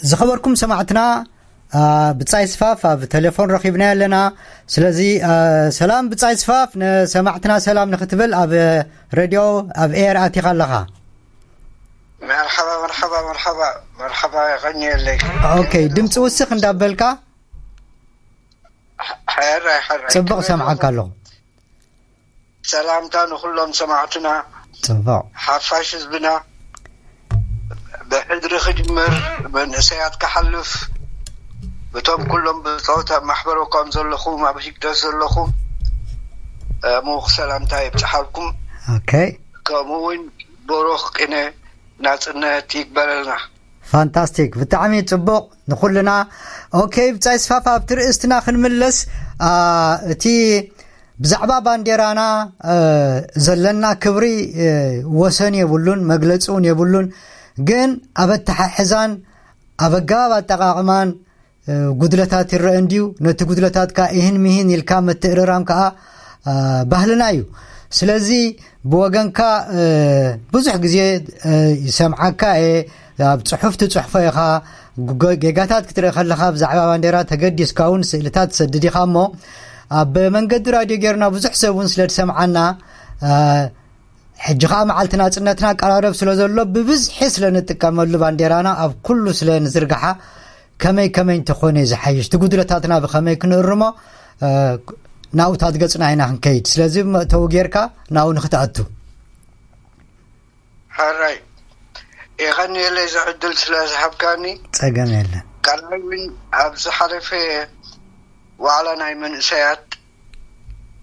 ዝኸበርኩም ሰማዕትና፣ ብጻይ ስፋፍ ኣብ ቴሌፎን ረኺብና ኣለና። ስለዚ ሰላም ብጻይ ስፋፍ፣ ንሰማዕትና ሰላም ንክትብል ኣብ ሬድዮ፣ ኣብ ኤር ኣቲኻ ኣለኻ። መርሓባ መርሓባ መርሓባ መርሓባ። የቐንየለይ። ኦኬ፣ ድምፂ ውስኽ እንዳበልካ። ሕራይ ሕራይ ጽቡቕ ሰምዓካ ኣለኹ። ሰላምታ ንኹሎም ሰማዕትና። ጽቡቕ። ሓፋሽ ህዝብና። ብሕድሪ ክጅምር፣ መንእሰያት ክሓልፍ፣ እቶም ኩሎም ብጾታ ኣብ ማሕበረኮም ዘለኹም፣ ኣብ ሂግደፍ ዘለኹም፣ ሙኽ ሰላምታ የብጽሓልኩም። ኦኬ። ከምኡ እውን ብሩኽ ቅነ ናጽነት ይግበረልና። ፋንታስቲክ፣ ብጣዕሚ ጽቡቕ ንኹልና። ኦኬ፣ ብጻይ ስፋፍ ኣብቲ ርእስትና ክንምለስ፣ እቲ ብዛዕባ ባንዴራና ዘለና ክብሪ ወሰን የብሉን፣ መግለጺ እውን የብሉን። ግን ኣብ ኣተሓሕዛን ኣብ ኣገባብ ኣጠቓቕማን ጉድለታት ይረአ እንድዩ። ነቲ ጉድለታት ከኣ ይህን ምሂን ኢልካ ምትእርራም ከኣ ባህልና እዩ። ስለዚ ብወገንካ ብዙሕ ግዜ ይሰምዓካ እየ፣ ኣብ ጽሑፍ ትጽሕፎ ኢኻ። ጌጋታት ክትርኢ ከለኻ ብዛዕባ ባንዴራ ተገዲስካ እውን ስእልታት ትሰድድ ኢኻ። እሞ ኣብ መንገዲ ራድዮ ጌርና ብዙሕ ሰብ እውን ስለ ዝሰምዓና፣ ሕጂ ኸኣ መዓልቲ ናጽነትና ቀራረብ ስለ ዘሎ፣ ብብዝሒ ስለ ንጥቀመሉ ባንዴራና ኣብ ኩሉ ስለ ንዝርግሓ፣ ከመይ ከመይ እንተኾነ ዝሓይሽ፣ እቲ ጉድለታትና ብኸመይ ክንእርሞ፣ ናብታት ገጽና ኢና ክንከይድ። ስለዚ መእተዊ ጌርካ ናብኡ ንክትኣቱ። ሕራይ፣ የቐንየለይ እዚ ዕድል ስለ ዝሃብካኒ። ጸገም የለን። ካልኣይ እውን ኣብ ዝሓለፈ ዋዕላ ናይ መንእሰያት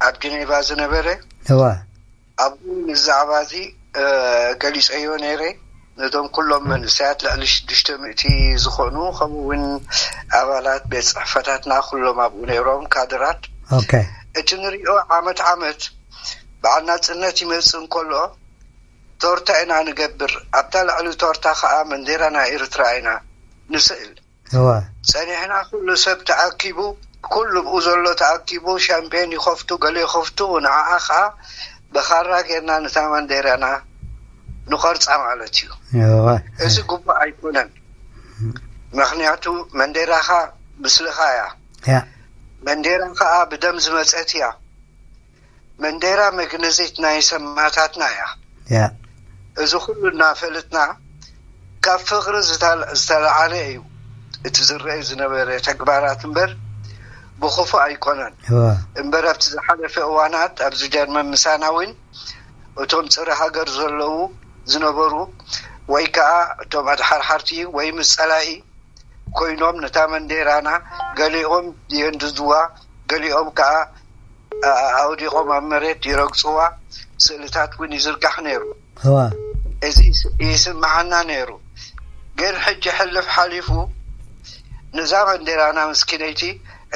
ኣብ ጀኔቫ ዝነበረ፣ እወ። ኣብኡ ብዛዕባ እዚ ገሊጸዮ ነይረ። ነቶም ኩሎም መንእሰያት ልዕሊ ሽዱሽተ ሚእቲ ዝኾኑ፣ ከምኡ እውን ኣባላት ቤት ጽሕፈታትና ኩሎም ኣብኡ ነይሮም፣ ካድራት። ኦኬ። እቲ ንሪኦ ዓመት ዓመት በዓል ናጽነት ይመጽእ እንከሎ ቶርታ ኢና ንገብር። ኣብታ ልዕሊ ቶርታ ከኣ መንዴራ ናይ ኤርትራ ኢና ንስእል። እወ። ጸኒሕና ኩሉ ሰብ ተኣኪቡ፣ ኩሉ ብኡ ዘሎ ተኣኪቡ ሻምፔን ይኸፍቱ፣ ገለ ይኸፍቱ፣ ንዓኣ ከኣ ብኻራ ጌርና ነታ መንዴራና ንቐርጻ ማለት እዩ። እወ። እዚ ግቡእ ኣይኮነን። ምኽንያቱ መንዴራኻ ምስልኻ እያ። ያ። መንዴራ ከኣ ብደም ዝመጸት እያ። መንዴራ መግነዚት ናይ ሰማእታትና እያ። ያ። እዚ ኩሉ እናፈለጥና ካብ ፍቕሪ ዝተል-፣ ዝተለዓለ እዩ እቲ ዝረኣይ ዝነበረ ተግባራት እምበር ብኽፉእ ኣይኮነን። እወ። እምበር ኣብቲ ዝሓለፈ እዋናት ኣብዚ ጀርመን ምሳና እውን እቶም ጽረ ሃገር ዘለዉ ዝነበሩ ወይ ከኣ እቶም ኣድሓርሓርቲ ወይ ምስ ጸላኢ ኮይኖም ነታ መንዴራና ገሊኦም የንድድዋ፣ ገሊኦም ከኣ ኣውዲቖም ኣብ መሬት ይረግጽዋ፣ ስእልታት እውን ይዝርጋሕ ነይሩ። እወ። እዚ ይስምዓና ነይሩ። ግን ሕጂ ሕልፍ ሓሊፉ ነዛ መንዴራና ምስኪነይቲ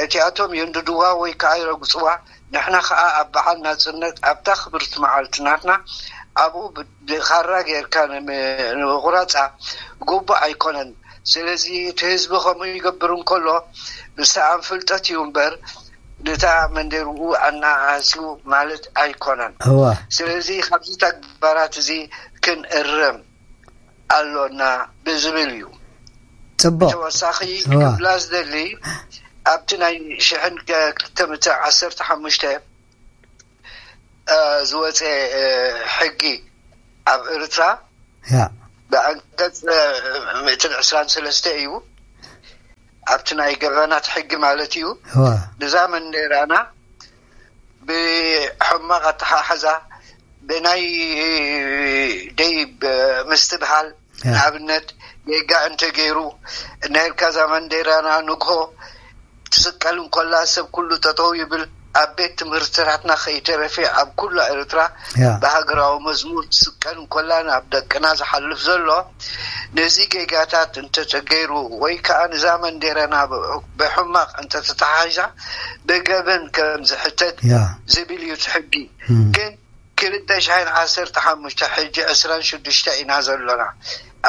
እቲኣቶም የንድድዋ ወይ ከኣ ይረግጽዋ፣ ንሕና ከኣ ኣብ በዓል ናጽነት ኣብታ ክብርቲ መዓልቲ ናትና ኣብኡ ብ-፣ ብኻራ ጌርካ ንም-፣ ንምቑራጻ ግቡእ ኣይኮነን። ስለዚ እቲ ህዝቢ ከምኡ ይገብር እንከሎ ብሰኣን ፍልጠት እዩ እምበር ነታ መንዴርኡ ኣናኣስዩ ማለት ኣይኮነን። እወ። ስለዚ ካብዚ ተግባራት እዚ ክንእረም ኣሎና ብዝብል እዩ። ጽቡቕ። ተወሳኺ እወ። ክብላ ዝደሊ ኣብቲ ናይ ሽሕን ክልተ ሚእትን ዓሰርተ ሓሙሽተ ዝወፀ ሕጊ ኣብ ኤርትራ ያ ብኣንቀፅ ሚእትን ዕስራን ሰለስተ እዩ። ኣብቲ ናይ ገበናት ሕጊ ማለት እዩ። እወ ንዛ መንዴራና ብሕማቕ ኣተሓሕዛ ብናይ ደይብ ምስትብሃል ያ ንኣብነት ጌጋ እንተገይሩ እናሄድካ እዛ መንዴራና ንግሆ ትስቀል እንኮላ ሰብ ኩሉ ጠጠው ይብል። ኣብ ቤት ትምህርትታትና ከይተረፈ ኣብ ኩላ ኤርትራ ያ ብሃገራዊ መዝሙር ትስቀል እንኮላ ናብ ደቅና ዝሓልፍ ዘሎ ነዚ ጌጋታት እንተተገይሩ ወይ ከዓ ንዛ መንዴራና ብሕማቕ እንተተተሓሒዛ ብገበን ከም ዝሕተት ያ ዝብል እዩ እቲ ሕጊ። እም። ግን ክልተ ሽሕን ዓሰርተ ሓሙሽተ ሕጂ ዕስራን ሽዱሽተ ኢና ዘሎና።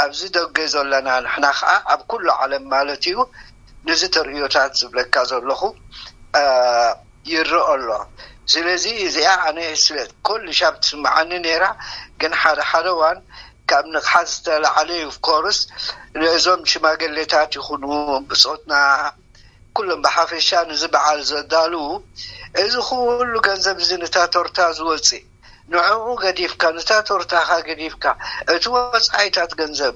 ኣብዚ ደገ ዘለና ንሕና ከዓ ኣብ ኩሉ ዓለም ማለት እዩ። ነዚ ተርእዮታት ዝብለካ ዘለኹ እ፣ ይረአ ኣሎ። ስለዚ እዚኣ ኣነ ስለ ኩሉ ሻብ ትስምዓኒ ነይራ፣ ግን ሓደ ሓደ እዋን ካብ ንቕሓት ዝተላዕለ እዩ። ኦፍኮርስ ነዞም ሽማግሌታት ይኹኑ ብጾትና ኩሎም ብሓፈሻ ንዚ በዓል ዘዳልዉ፣ እዚ ኩሉ ገንዘብ እዚ ነታ ቶርታ ዝወፅእ፣ ንዕኡ ገዲፍካ፣ ነታ ቶርታኻ ገዲፍካ፣ እቲ ወፃኢታት ገንዘብ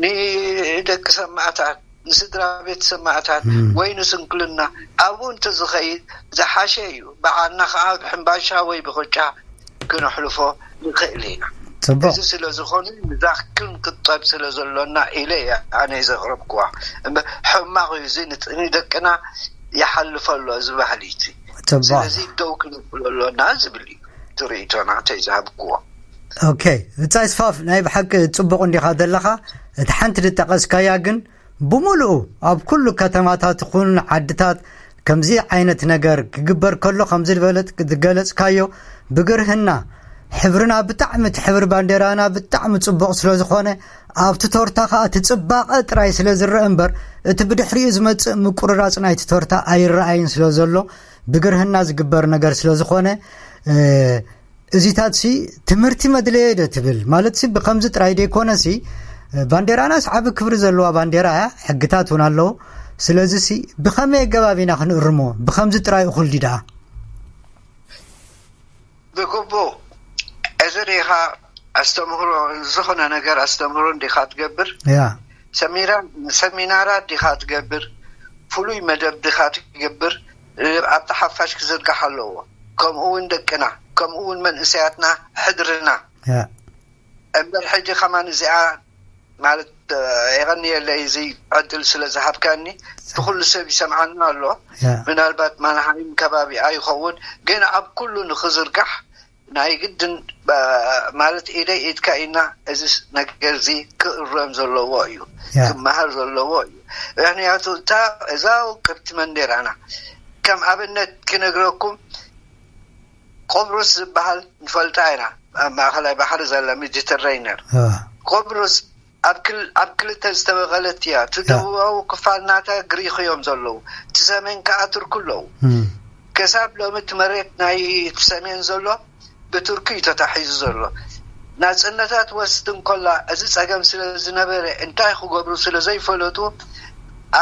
ንደቂ ሰማእታት፣ ንስድራ ቤት ሰማእታት ወይ ንስንክልና ኣብኡ እንተዝኸይድ ዝሓሸ እዩ። በዓልና ከዓ ብሕምባሻ ወይ ብቆጫ ክነሕልፎ ንኽእል ኢና። ፅቡቅ። እዚ ስለ ዝኾነ ንዛ ክንቅጠብ ስለ ዘሎና ኢለ እየ ኣነ ዘቕረብክዋ። እምበር ሕማቕ እዩ፣ እዚ ንደቅና ይሓልፈ ኣሎ እዚ ባህሊ እቲ። ፅቡቅ። ስለዚ ደው ክንብሎ ኣሎና ዝብል እዩ ትርኢቶ ናተይ ዝሃብክዎ። ኦኬ፣ ብጻይ ስፋፍ፣ ናይ ብሓቂ ጽቡቕ እንዲኻ ዘለኻ። እቲ ሓንቲ ዝጠቐስካያ ግን፣ ብምሉኡ ኣብ ኩሉ ከተማታት ይኹን ዓድታት ከምዚ ዓይነት ነገር ክግበር ከሎ፣ ከምዚ ዝበለጥ ዝገለጽካዮ፣ ብግርህና ሕብርና ብጣዕሚ፣ እቲ ሕብሪ ባንዴራና ብጣዕሚ ጽቡቕ ስለ ዝኾነ፣ ኣብቲ ቶርታ ኸኣ እቲ ጽባቐ ጥራይ ስለ ዝረአ እምበር፣ እቲ ብድሕሪኡ ዝመጽእ ምቁርራጽ ናይቲ ቶርታ ኣይረኣይን ስለ ዘሎ፣ ብግርህና ዝግበር ነገር ስለ ዝኾነ፣ እ፣ እዚታት ሲ ትምህርቲ መድለየ ዶ ትብል? ማለት ሲ ብኸምዚ ጥራይ ደይኮነ ሲ፣ ባንዴራናስ ዓቢ ክብሪ ዘለዋ ባንዴራ እያ፣ ሕግታት እውን ኣለዎ። ስለዚ ሲ ብኸመይ ኣገባብ ኢና ክንእርሞ? ብኸምዚ ጥራይ እኹል ድዩ ደኣ? ብግቡእ። እዚ ዲኻ ኣስተምህሮ፣ ዝኾነ ነገር ኣስተምህሮ እንዲኻ ትገብር? ያ። ሰሚራ-፣ ሰሚናራት ዲኻ ትገብር? ፍሉይ መደብ ዲኻ ትገብር? ኣብታ ሓፋሽ ክዝርጋሕ ኣለዎ። ከምኡ እውን ደቅና፣ ከምኡ እውን መንእሰያትና፣ ሕድርና። ያ። እምበር ሕጂ ከማን እዚኣ ማለት፣ እ፣ የቐንየለይ እዚ ዕድል ስለ ዝሃብካኒ። እቲ ኩሉ ሰብ ይሰምዓና ኣሎ። ያ። ምናልባት ማንሃይም ከባቢ ኣይኸውን፣ ግን ኣብ ኩሉ ንኽዝርጋሕ ናይ ግድን፣ እ፣ ማለት ኢደይ ኢድካ ኢና እዚ ነገር እዚ ክእረም ዘለዎ እዩ፣ ያ። ክመሃር ዘለዎ እዩ። ምክንያቱ እታ፣ እዛ ውቅብቲ መንዴራና ከም ኣብነት ክነግረኩም፣ ቆብሮስ ዝበሃል ንፈልጣ ኢና፣ ኣብ ማእኸላይ ባሕሪ ዘላ ሜዲተረይነር። እ፣ ቆብሮስ ኣብ ክል-፣ ኣብ ክልተ ዝተመቐለት እያ። እቲ ደቡባዊ ክፋል ናታ ግሪኽ እዮም ዘለዉ፣ እቲ ሰሜን ከኣ ቱርክ ኣለዉ። እም፣ ክሳብ ሎሚ እቲ መሬት ናይ እቲ ሰሜን ዘሎ ብቱርኪ እዩ ተታሒዙ ዘሎ። ናጽነታት ወስድ እንኮላ እዚ ጸገም ስለ ዝነበረ እንታይ ክገብሩ ስለ ዘይፈለጡ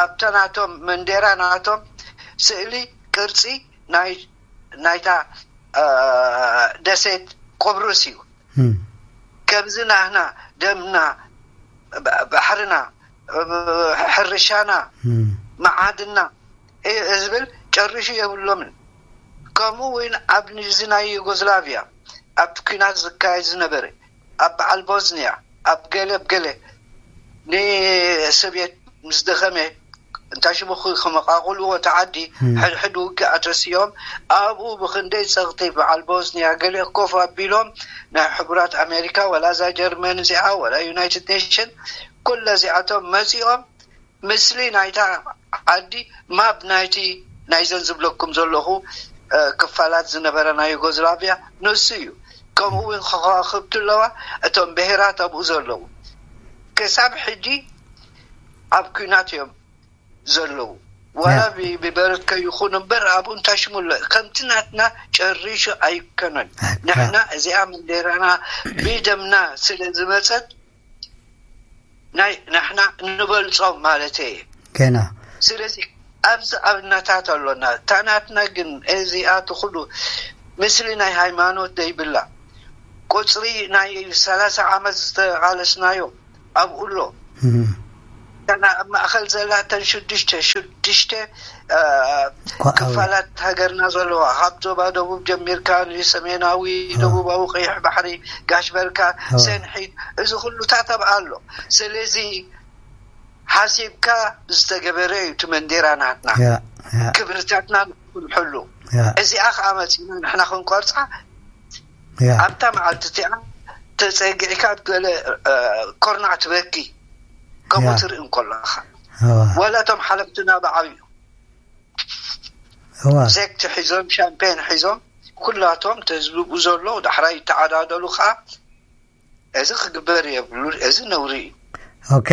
ኣብታ ናቶም መንዴራ ናቶም ስእሊ ቅርጺ ናይ ናይታ፣ እ፣ ደሴት ቆብሮስ እዩ። እም፣ ከምዚ ናህና ደምና፣ ባ-፣ ባሕርና፣ እ፣ ሕርሻና፣ እም፣ መዓድና፣ እ፣ ዝብል ጨሪሹ የብሎምን። ከምኡ እውን ኣብ ንዚ ናይ ዩጎዝላቪያ ኣብቲ ኲናት ዝካየድ ዝነበረ ኣብ በዓል ቦዝንያ፣ ኣብ ገለ፣ ኣብ ገለ ንሶብየት ምስ ደኸመ እንታይ ሽሙ ክ-፣ ከመቓቕልዎ እቲ ዓዲ፣ እም። ሕድሕድ ውግእ ኣተስዮም ኣብኡ ብኽንደይ ጸቕጢ በዓል ቦዝንያ ገለ ኮፍ ኣቢሎም ናይ ሕቡራት ኣሜሪካ ወላ እዛ ጀርመን እዚኣ ወላ ዩናይትድ ኔሽን ኩለ እዚኣቶም መጺኦም ምስሊ ናይታ ዓዲ ማብ ናይቲ ናይዘን ዝብለኩም ዘለኹ፣ እ፣ ክፋላት ዝነበረ ናይ ዩጎዝላቪያ ንሱ እዩ። ከምኡ እውን ከዋኽብቲ ኣለዋ፣ እቶም ብሄራት ኣብኡ ዘለዉ። ክሳብ ሕጂ ኣብ ኲናት እዮም ዘለዉ። ዋላ ያ። ብ-፣ ብበረከ ይኹን እምበር ኣብኡ እንታይ ሽሙ ኣሎ? ከምቲ ናትና ጨሪሹ ኣይከነን። ኣካ። ንሕና እዚኣ መንዴራና ብደምና ስለ ዝመጸት ናይ ንሕና እንበልጾም ማለት እየ። ገና። ስለዚ ኣብዚ ኣብነታት ኣሎና። እታ ናትና ግን እዚኣ ትኹሉ ምስሊ ናይ ሃይማኖት ደይብላ። ቁጽሪ ናይ ሰላሳ ዓመት ዝተቓለስናዮ ኣብኡ ኣሎ። እም። እተን ኣብ ማእኸል ዘላተን ሽዱሽተ፣ ሽዱሽተ፣ እ፣ ኳ-፣ ክፋላት ሃገርና ዘለዋ፣ ካብ ዞባ ደቡብ ጀሚርካ ንሰሜናዊ፣ እ። ደቡባዊ ቀይሕ ባሕሪ፣ ጋሽ በርካ፣ እ። ሰንሒት፣ እዚ ኩሉታት ኣብኣ ኣሎ። ስለዚ ሓሲብካ ዝተገበረ እዩ እቲ መንዴራ ናትና። ያ፣ ያ። ክብርታትና ንሕሉ። ያ። እዚኣ ከዓ መፂና ንሕና ክንቆርፃ ያ። ኣብታ መዓልቲ እቲኣ ተፀጊዕካ ኣብ ገለ፣ እ፣ ኮርናዕ ትበኪ። ከምኡ ያ። ትርኢ እንከለኻ። እዋ። ዋላ እቶም ሓለፍትና ብዓብዩ እዋ። ሴክት ሒዞም፣ ሻምፔን ሒዞም፣ ኩላቶም ተዝብኡ ዘለዉ፣ ዳሕራይ ይተዓዳደሉ ከዓ። እዚ ክግበር የብሉ፣ እዚ ነውሪ እዩ። ኦኬ።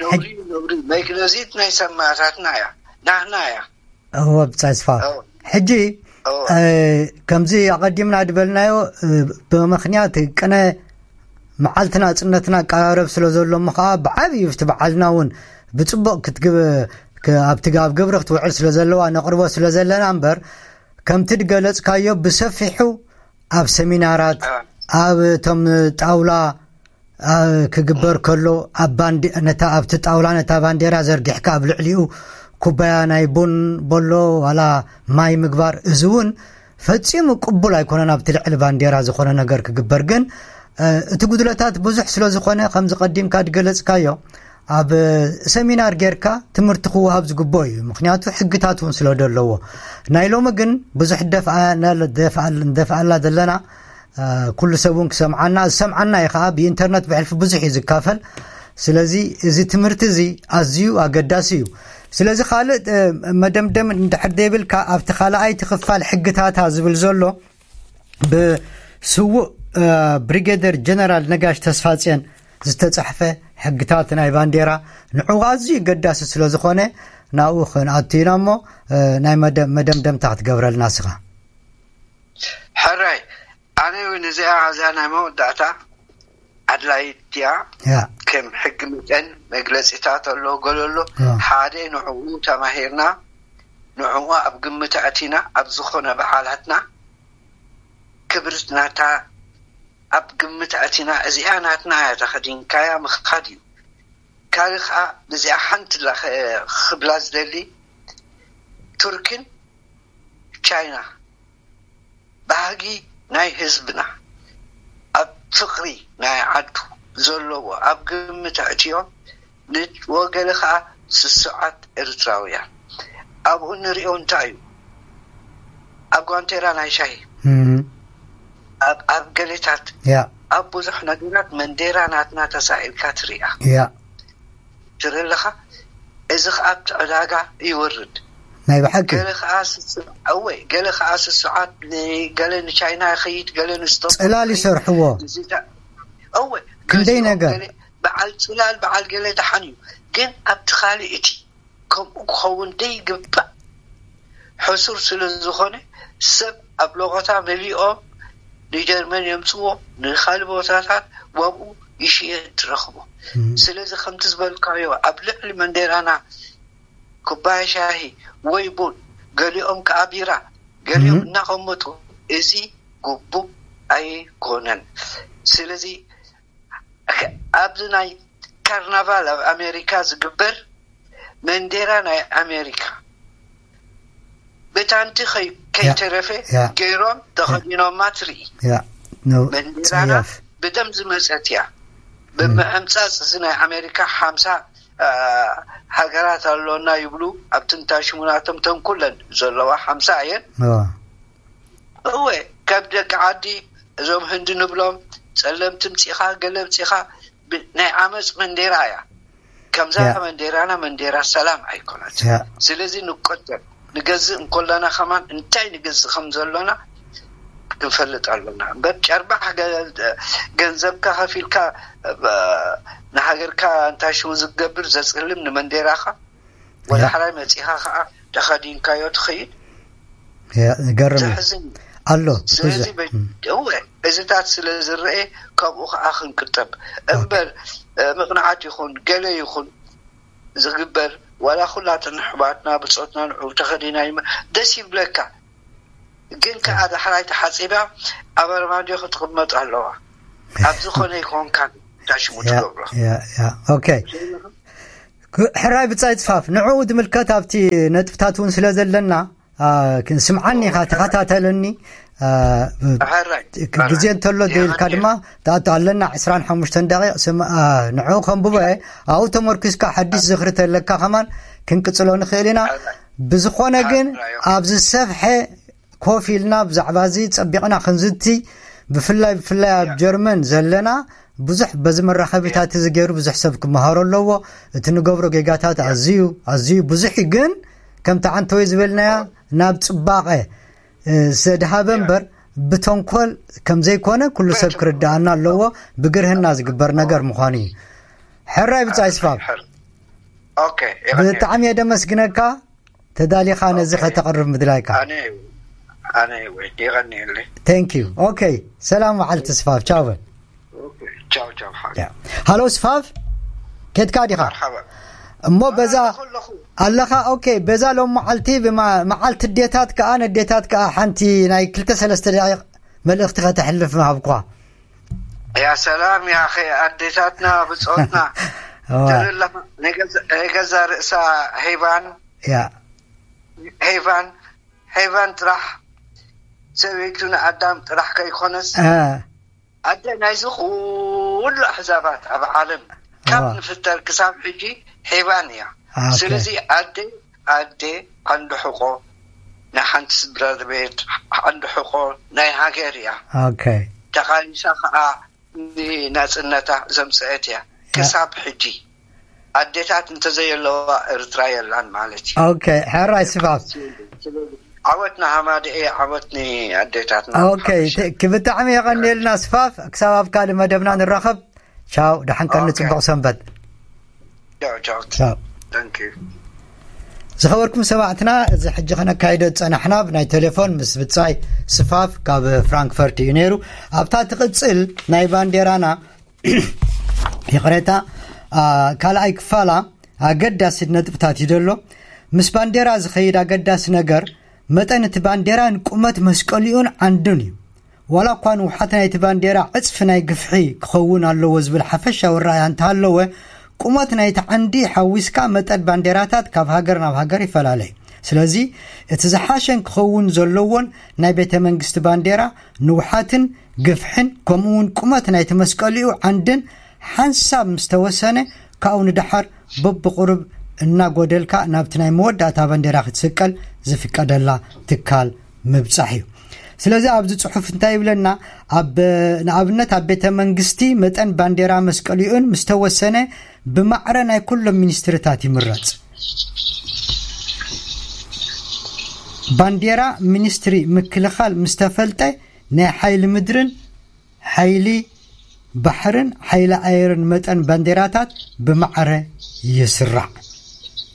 ነውሪ እዩ፣ ነውሪ። መግነዚት ናይ ሰማእታትና እያ፣ ናህና እያ። እወ፣ ብጻይ ስፋ። እወ። ሕጂ፣ እወ። እ፣ ከምዚ ኣቐዲምና ዝበልናዮ፣ እ፣ ብምኽንያት ቅነ መዓልቲ ናጽነትና ኣቀራረብ ስለ ዘሎ እሞ ከዓ ብዓብዩ እቲ በዓልና እውን ብጽቡቕ ክትግብ ክ- ኣብቲ ግ- ኣብ ግብሪ ክትውዕል ስለ ዘለዋ ነቕርቦ ስለ ዘለና እምበር ከምቲ ድገለጽካዮ ብሰፊሑ ኣብ ሰሚናራት ኣብ እቶም ጣውላ ኣ- ክግበር ከሎ ኣብ ባንዲ ነታ ኣብቲ ጣውላ ነታ ባንዴራ ዘርጊሕካ ኣብ ልዕሊኡ ኩባያ ናይ ቡን በሎ ዋላ ማይ ምግባር እዚ እውን ፈጺሙ ቅቡል ኣይኮነን። ኣብቲ ልዕሊ ባንዴራ ዝኾነ ነገር ክግበር ግን እ፣ እቲ ጉድለታት ብዙሕ ስለ ዝኾነ ከምዚ ቀዲምካ ዝገለጽካዮ ኣብ ሰሚናር ጌርካ ትምህርቲ ክወሃብ ዝግብኦ እዩ። ምክንያቱ ሕግታት እውን ስለ ዘለዎ ናይ ሎሚ ግን ብዙሕ ደፍኣላ ዘለና ኩሉ ሰብ እውን ክሰምዓና ዝሰምዓና እዩ ከዓ ብኢንተርነት ብሕልፊ ብዙሕ እዩ ዝካፈል። ስለዚ እዚ ትምህርቲ እዚ ኣዝዩ ኣገዳሲ እዩ። ስለዚ ካልእ መደምደም እንድሕር ዘይብልካ ኣብቲ ካልኣይቲ ክፋል ሕግታታ ዝብል ዘሎ ብስዉእ ብሪጌደር ጀነራል ነጋሽ ተስፋጽዮን ዝተጻሕፈ ሕግታት ናይ ባንዴራ ንዕኡ ኣዝዩ ገዳሲ ስለ ዝኾነ ናብኡ ክንኣቱ ኢና እሞ ናይ መደምደምታ ክትገብረልና ስኻ። ሕራይ ኣነ እውን እዚኣ እዚኣ ናይ መወዳእታ ኣድላይት እያ። ከም ሕጊ መጠን መግለፂታት ኣሎ፣ ገሎ ኣሎ። ሓደ ንዕኡ ተማሂርና ንዕኡ ኣብ ግምት ኣእቲና ኣብ ዝኾነ በዓላትና ክብርት ናታ ኣብ ግምት ኣእቲና እዚኣ ናትና እያ ተኸዲንካያ ምኻድ እዩ። ካልእ ከዓ ብዚኣ ሓንቲ ክብላ ዝደሊ ቱርክን ቻይና ባህጊ ናይ ህዝብና ኣብ ፍቕሪ ናይ ዓዱ ዘለዎ ኣብ ግምት ኣእትዮም ንወገለ ከዓ ስሱዓት ኤርትራውያን ኣብኡ ንሪኦ እንታይ እዩ ኣብ ጓንቴራ ናይ ሻሂ ኣብ ገሌታት ኣብ ብዙሕ ነገራት መንዴራ ናትና ተሳኢልካ ትሪኣ ትርኢ ኣለኻ። እዚ ከዓ ኣብቲ ዕዳጋ ይወርድ። ናይ ብሓቂ ገለ ከዓ ስስዕ- እወ ገለ ከዓ ስሱዓት ን- ገለ ንቻይና ይኸይድ ገለ ንስቶክ ጽላል ይኸይድ። ይሰርሕዎ። እዚ ዳ- እወ ክንደይ ገዚኦም ነገር? ገለ በዓል ጽላል በዓል ገለ ደሓን እዩ። ግን ኣብቲ ካልእ እቲ ከምኡ ክኸውን ደይግባእ ሕሱር ስለ ዝኾነ ሰብ ኣብ ሎቐታ መሊኦም ንጀርመን የምፅዎ ንካልእ ቦታታት ዋብኡ ይሽየጥ ትረኽቦ። ስለዚ ከምቲ ዝበልካዮ ኣብ ልዕሊ መንዴራና ኩባያ ሻሂ ወይ ቡን ገሊኦም ከዓ ቢራ ገሊኦም እናቐመጡ እዚ ግቡእ ኣይኮነን። ስለዚ ኣብዚ ናይ ካርናቫል ኣብ ኣሜሪካ ዝግበር መንዴራ ናይ ኣሜሪካ ብታንቲ ከይ- ከይተረፈ ያ። ገይሮም ተኸዲኖማ ትርኢ። ያ ነው መንዴራና ጸያፍ ብደም ዝመፀት እያ። ብምዕምፃፅ እዚ ናይ ኣሜሪካ ሓምሳ አ፣ ሃገራት ኣሎና ይብሉ። ኣብቲ እንታይ ሽሙናቶም ተንኩለን ዘለዋ ሓምሳ እየን። ዋ እወ ካብ ደቂ ዓዲ እዞም ህንዲ ንብሎም ጸለምቲ ምጺኻ ገለ ምጺኻ ብ- ናይ ዓመፅ መንዴራ እያ። ከምዛ ያ። መንዴራና መንዴራ ሰላም ኣይኮነት። ያ። ስለዚ ንቆጠብ ንገዝእ እንኮለና ከማን እንታይ ንገዝእ ከም ዘሎና ክንፈልጥ ኣሎና። እምበር ጨርባሕ ገ- ገንዘብካ ከፊልካ ብ- ንሃገርካ እንታይ ሽሙ ዝገብር ዘጽልም ንመንዴራኻ ወደ ያ። ሓራይ መጺኻ ከዓ ተኸዲንካዮ ትኸይድ። ያ ገርም እዩ። ዘሕዝን እዩ። ኣሎ ስለዚ ብዙሕ በ- እወ እዚታት ስለ ዝረአ ካብኡ ከዓ ክንቅጠብ እምበር እ፣ ምቕናዓት ይኹን ገለ ይኹን ዝግበር ዋላ ኩላትን ኣሕዋትና ብፆትና ንዑ ተኸዲና ይመ ደስ ይብለካ። ግን ከዓ ዳሕራይ ተሓፂባ ኣብ ኣርማድዮ ክትቕመጥ ኣለዋ። ኣብ ዝኾነ ይኮንካን ዳሽሙ ያ ትገብሮ ያ ያ ኦኬ ግ- ሕራይ ብጻይ ጽፋፍ ንዕኡ ዝምልከት ኣብቲ ነጥብታት እውን ስለ ዘለና ኣ፣ ክ- ስምዓኒ ኢኻ ተኸታተለኒ ኣ፣ ብ- ሕራይ ክ- ግዜ እንተሎ ደይልካ ድማ ትኣቱ ኣለና ዕስራን ሓሙሽተን ደቂቕ ስም ኣ፣ ንዕኡ ከንብቦ እየ ኣብኡ ተመርኪስካ ሓዲሽ ዝኽሪ ተለካ ከማን ክንቅጽሎ ንኽእል ኢና ብዝኾነ ግን ኣብዚ ዝሰፍሐ ኮፍ ኢልና ብዛዕባ እዚ ጸቢቕና ክንዝቲ ብፍላይ ብፍላይ ኣብ ጀርመን ዘለና ብዙሕ በዚ መራኸቢታት እዚ ገይሩ ብዙሕ ሰብ ክመሃሮ ኣለዎ። እቲ ንገብሮ ጌጋታት ኣዝዩ ኣዝዩ ብዙሕ እዩ፣ ግን ከምቲ ዓንተወይ ዝበልናያ ናብ ጽባቐ እ፣ ዘድሃበ እምበር ብተንኮል ከም ዘይኮነ ኩሉ ሰብ ክርድኣና ኣለዎ። ብግርህና ዝግበር ነገር ምዃኑ እዩ። ሕራይ ብጻይ ስፋብ ኦኬ ይቐኒ ብጣዕሚ እየ ደመስግነካ ተዳሊኻ ነዚ ከተቕርብ ምድላይካ። ኣነ ኣነ ወይ ይቐኒየለይ Thank you okay ሰላም መዓልቲ ስፋብ ቻው በል። ኦኬ ቻው ቻው ሓ ሃሎ ስፋፍ፣ ኬትካ ዲኻ? ሓባ እሞ በዛ ኣለኹ ኣለኻ። ኦኬ፣ በዛ ሎም መዓልቲ ብማ- መዓልቲ ኣዴታት ከኣ ነዴታት ከኣ ሓንቲ ናይ ክልተ ሰለስተ ደቂቕ መልእኽቲ ከተሕልፍ ምሃብኳ። ያ ሰላም ያ ኸ ኣዴታትና ብጾትና እዋ። ትርኢ ኣለኻ። ናይ ገዛ- ናይ ገዛ ርእሳ ሄቫን ያ ሄቫን ሄቫን ጥራሕ ሰበይቱ ንኣዳም ጥራሕ ከይኮነስ እ፣ ኣደ ናይዚ ኩሉ ኣሕዛባት ኣብ ዓለም ካብ እዋ። ንፍጠር ክሳብ ሕጂ ሄቫን እያ። ኦኬ። ስለዚ ኣደ ኣደ ዓንዲ ሕቆ ናይ ሓንቲ ስድራ ቤት ዓንዲ ሕቆ ናይ ሃገር እያ። ኦኬ። ተቓሊሳ ከዓ ንናፅነታ ዘምፀአት እያ። ክሳብ ሕጂ ኣዴታት እንተዘየለዋ ኤርትራ የላን ማለት እዩ። ኦኬ፣ ሕራይ ስፋፍ። ዓወት ንሃማደኤ፣ ዓወት ንኣዴታትና። ኦኬ፣ ት- ብጣዕሚ የቐንየልና ስፋፍ። ክሳብ ኣብ ካልእ መደብና ንራኸብ። ቻው፣ ደሓን ቀኒ፣ ኦኬ። ጽቡቕ ሰንበት። ቻው ቻው። ቻው። Thank you። ዝኸበርኩም ሰማዕትና፣ እዚ ሕጂ ከነካይዶ ዝጸናሕና ብናይ ቴሌፎን ምስ ብጻይ ስፋፍ ካብ ፍራንክፈርት እዩ ነይሩ። ኣብታ ትቕጽል ናይ ባንዴራና ይቕሬታ፣ አ፣ ካልኣይ ክፋላ ኣገዳሲ ነጥብታት እዩ ዘሎ። ምስ ባንዴራ ዝኸይድ ኣገዳሲ ነገር መጠን እቲ ባንዴራን ቁመት መስቀሊኡን ዓንዱን እዩ። ዋላ እኳ ንውሓት ናይቲ ባንዴራ ዕጽፊ ናይ ግፍሒ ክኸውን ኣለዎ ዝብል ሓፈሻዊ ረኣያ እንተሃለወ፣ ቁመት ናይቲ ዓንዲ ሓዊስካ መጠን ባንዴራታት ካብ ሃገር ናብ ሃገር ይፈላለ እዩ። ስለዚ እቲ ዝሓሸን ክኸውን ዘለዎን ናይ ቤተ መንግስቲ ባንዴራ ንውሓትን ግፍሕን ከምኡ እውን ቁመት ናይቲ መስቀሊኡ ዓንድን ሓንሳብ ምስ ተወሰነ፣ ካብኡ ንደሓር በብቑሩብ እናጎደልካ ናብቲ ናይ መወዳእታ ባንዴራ ክትስቀል ዝፍቀደላ ትካል ምብጻሕ እዩ። ስለዚ ኣብዚ ጽሑፍ እንታይ ይብለና? ኣብ ንኣብነት ኣብ ቤተ መንግስቲ መጠን ባንዴራ መስቀሊኡን ምስ ተወሰነ ብማዕረ ናይ ኩሎም ሚኒስትርታት ይምረጽ። ባንዴራ ሚኒስትሪ ምክልኻል ምስ ተፈልጠ ናይ ሓይሊ ምድርን ሓይሊ ባሕርን ሓይሊ ኣየርን መጠን ባንዴራታት ብማዕረ ይስራዕ።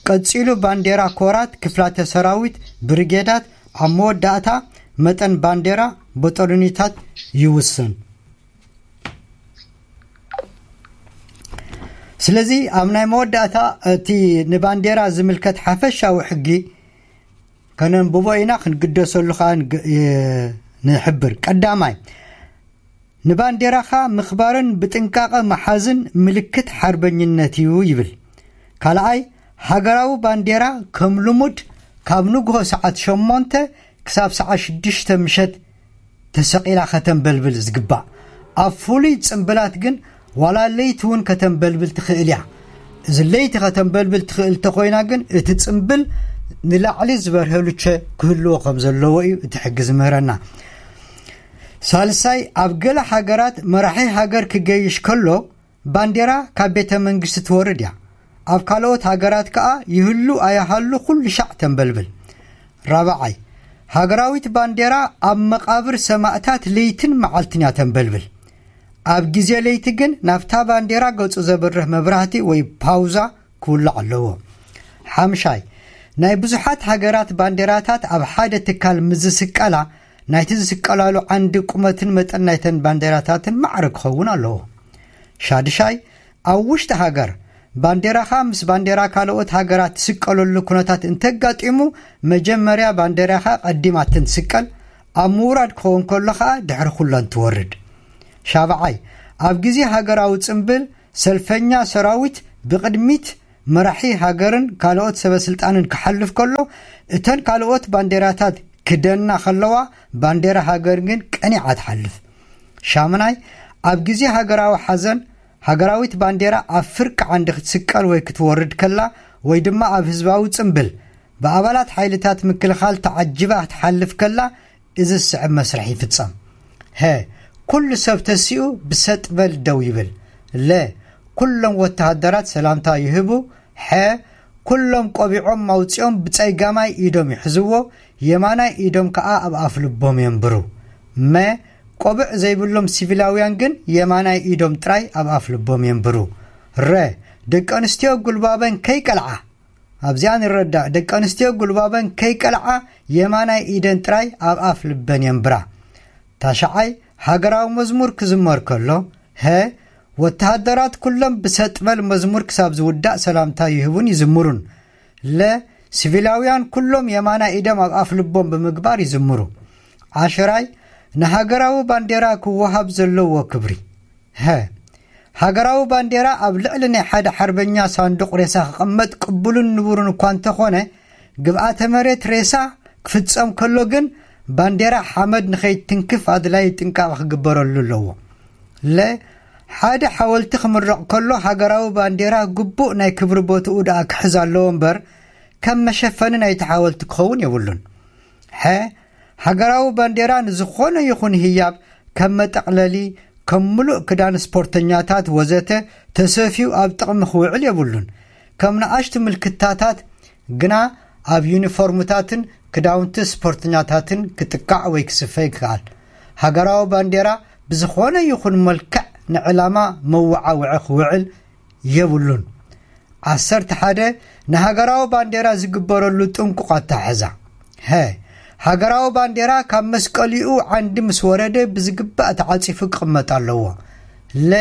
ቀጺሉ ባንዴራ ኮራት፣ ክፍላተ ሰራዊት፣ ብሪጌዳት፣ ኣብ መወዳእታ መጠን ባንዴራ በጦሎኒታት ይውስን። ስለዚ ኣብ ናይ መወዳእታ እቲ ንባንዴራ ዝምልከት ሓፈሻዊ ሕጊ ከነንብቦ ኢና፣ ክንግደሰሉ ከዓ ንግ- የ- ንሕብር። ቀዳማይ፣ ንባንዴራኻ ምኽባርን ብጥንቃቐ መሓዝን ምልክት ሓርበኝነት እዩ ይብል። ካልኣይ፣ ሃገራዊ ባንዴራ ከም ልሙድ ካብ ንግሆ ሰዓት ሸሞንተ ክሳብ ሰዓት ሽዱሽተ ምሸት ተሰቒላ ከተንበልብል ዝግባእ። ኣብ ፍሉይ ጽምብላት ግን ዋላ ለይቲ እውን ከተንበልብል ትኽእል እያ። እዚ ለይቲ ከተንበልብል ትኽእል እንተኾይና ግን እቲ ጽምብል ንላዕሊ ዝበርሀ ሉቸ ክህልዎ ከም ዘለዎ እዩ እቲ ሕጊ ዝምህረና። ሳልሳይ፣ ኣብ ገለ ሃገራት መራሒ ሃገር ክገይሽ ከሎ ባንዴራ ካብ ቤተ መንግስቲ ትወርድ እያ። ኣብ ካልኦት ሃገራት ከኣ ይህሉ ኣይሃሉ ኩሉ ሻዕ ተንበልብል። ራብዓይ፣ ሃገራዊት ባንዴራ ኣብ መቓብር ሰማእታት ለይትን መዓልትን እያ ተንበልብል። ኣብ ግዜ ለይቲ ግን ናብታ ባንዴራ ገጹ ዘብርህ መብራህቲ ወይ ፓውዛ ክውላዕ ኣለዎ። ሓምሻይ፣ ናይ ብዙሓት ሃገራት ባንዴራታት ኣብ ሓደ ትካል ምስ ዝስቀላ፣ ናይቲ ዝስቀላሉ ዓንዲ ቁመትን መጠን ናይተን ባንዴራታትን ማዕረ ክኸውን ኣለዎ። ሻድሻይ፣ ኣብ ውሽጢ ሃገር ባንዴራኻ ምስ ባንዴራ ካልኦት ሃገራት ትስቀለሉ ኩነታት እንተጋጢሙ፣ መጀመርያ ባንዴራኻ ቀዲማ ትስቀል፣ ኣብ ምውራድ ክኸውን ከሎ ኸኣ ድሕሪ ኩለን ትወርድ። ሻብዓይ፣ ኣብ ግዜ ሃገራዊ ጽምብል ሰልፈኛ ሰራዊት ብቕድሚት መራሒ ሃገርን ካልኦት ሰበ ስልጣንን ክሓልፍ ከሎ፣ እተን ካልኦት ባንዴራታት ክደና ከለዋ፣ ባንዴራ ሃገር ግን ቀኒዓ ትሓልፍ። ሻምናይ፣ ኣብ ግዜ ሃገራዊ ሓዘን ሃገራዊት ባንዴራ ኣብ ፍርቂ ዓንዲ ክትስቀል ወይ ክትወርድ ከላ ወይ ድማ ኣብ ህዝባዊ ጽምብል ብኣባላት ሓይልታት ምክልኻል ተዓጂባ ክትሓልፍ ከላ፣ እዚ ዝስዕብ መስርሕ ይፍጸም። ሀ፣ ኩሉ ሰብ ተሲኡ ብሰጥ በል ደው ይብል። ለ፣ ኩሎም ወተሃደራት ሰላምታ ይህቡ። ሐ፣ ኩሎም ቆቢዖም ኣውጺኦም ብጸጋማይ ኢዶም ይሕዝዎ፣ የማናይ ኢዶም ከኣ ኣብ ኣፍ ልቦም የንብሩ። መ፣ ቆብዕ ዘይብሎም ሲቪላውያን ግን የማናይ ኢዶም ጥራይ ኣብ ኣፍ ልቦም የንብሩ። ረ፣ ደቂ ኣንስትዮ ጉልባበን ከይቀልዓ፣ ኣብዚኣ ንረዳእ፣ ደቂ ኣንስትዮ ጉልባበን ከይቀልዓ የማናይ ኢደን ጥራይ ኣብ ኣፍ ልበን የንብራ። ታሽዓይ፣ ሃገራዊ መዝሙር ክዝመር ከሎ፣ ሀ፣ ወተሃደራት ኩሎም ብሰጥበል መዝሙር ክሳብ ዝውዳእ ሰላምታ ይህቡን ይዝምሩን። ለ፣ ሲቪላውያን ኩሎም የማና ኢደም ኣብ ኣፍ ልቦም ብምግባር ይዝምሩ። ዓሽራይ፣ ንሃገራዊ ባንዴራ ክወሃብ ዘለዎ ክብሪ። ሀ፣ ሃገራዊ ባንዴራ ኣብ ልዕሊ ናይ ሓደ ሓርበኛ ሳንዱቕ ሬሳ ክቕመጥ ቅቡልን ንቡርን እኳ እንተኾነ፣ ግብኣተ መሬት ሬሳ ክፍጸም ከሎ ግን ባንዴራ ሓመድ ንኸይትንክፍ ኣድላይ ጥንቃቐ ክግበረሉ ኣለዎ። ለ፣ ሓደ ሓወልቲ ክምረቕ ከሎ ሃገራዊ ባንዴራ ግቡእ ናይ ክብሪ ቦትኡ ደኣ ክሕዝ ኣለዎ እምበር፣ ከም መሸፈኒ ናይቲ ሓወልቲ ክኸውን የብሉን። ሐ፣ ሃገራዊ ባንዴራ ንዝኾነ ይኹን ህያብ ከም መጠቕለሊ፣ ከም ምሉእ ክዳን ስፖርተኛታት ወዘተ ተሰፍዩ ኣብ ጥቕሚ ክውዕል የብሉን። ከም ንኣሽቱ ምልክታታት ግና ኣብ ዩኒፎርምታትን ክዳውንቲ ስፖርተኛታትን ክጥቃዕ ወይ ክስፈ ይከኣል። ሃገራዊ ባንዴራ ብዝኾነ ይኹን መልክዕ ንዕላማ መወዓውዒ ክውዕል የብሉን። ዓሰርተ ሓደ፣ ንሃገራዊ ባንዴራ ዝግበረሉ ጥንቁቕ ኣተሓሕዛ። ሀ፣ ሃገራዊ ባንዴራ ካብ መስቀሊኡ ዓንዲ ምስ ወረደ ብዝግባእ ተዓጺፉ ክቕመጥ ኣለዎ። ለ፣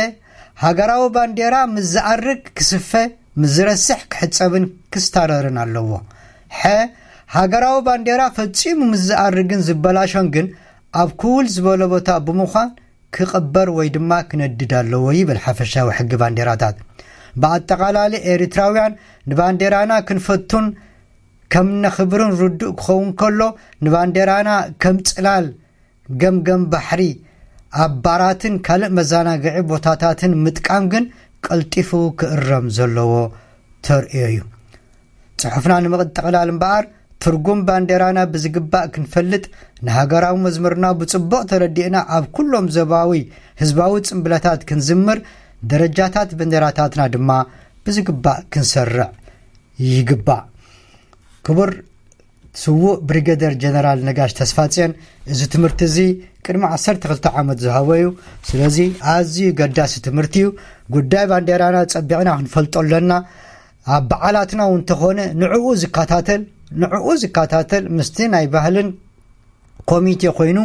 ሃገራዊ ባንዴራ ምስ ዝኣርግ ክስፈ፣ ምስ ዝረስሕ ክሕጸብን ክስታረርን ኣለዎ። ሐ፣ ሃገራዊ ባንዴራ ፈጺሙ ምስ ዝኣርግን ዝበላሾን ግን ኣብ ክውል ዝበለ ቦታ ብምዃን ክቕበር ወይ ድማ ክነድድ ኣለዎ ይብል ሓፈሻዊ ሕጊ ባንዴራታት። ብኣጠቓላሊ ኤሪትራውያን ንባንዴራና ክንፈቱን ከም ነኽብርን ርዱእ ክኸውን ከሎ፣ ንባንዴራና ከም ጽላል ገምገም ባሕሪ ኣብ ባራትን ካልእ መዘናግዒ ቦታታትን ምጥቃም ግን ቀልጢፉ ክእረም ዘለዎ ተርእዮ እዩ። ጽሑፍና ንምጥቕላል እምበኣር፣ ትርጉም ባንዴራና ብዝግባእ ክንፈልጥ፣ ንሃገራዊ መዝሙርና ብጽቡቕ ተረዲእና ኣብ ኩሎም ዞባዊ ህዝባዊ ጽምብለታት ክንዝምር፣ ደረጃታት ባንዴራታትና ድማ ብዝግባእ ክንሰርዕ ይግባእ። ክቡር ስዉእ ብሪገደር ጀነራል ነጋሽ ተስፋጽዮን እዚ ትምህርቲ እዚ ቅድሚ ዓሰርተ ክልተ ዓመት ዝሃቦ እዩ። ስለዚ ኣዝዩ ገዳሲ ትምህርቲ እዩ። ጉዳይ ባንዴራና ጸቢቕና ክንፈልጦ ኣለና። ኣብ በዓላትና እውን እንተኾነ ንዕኡ ዝከታተል፣ ንዕኡ ዝከታተል ምስቲ ናይ ባህልን ኮሚቴ ኮይኑ፣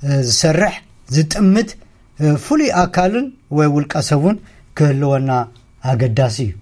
እ፣ ዝሰርሕ፣ ዝጥምት፣ እ፣ ፍሉይ ኣካልን ወይ ውልቀ ሰቡን ክህልወና ኣገዳሲ እዩ።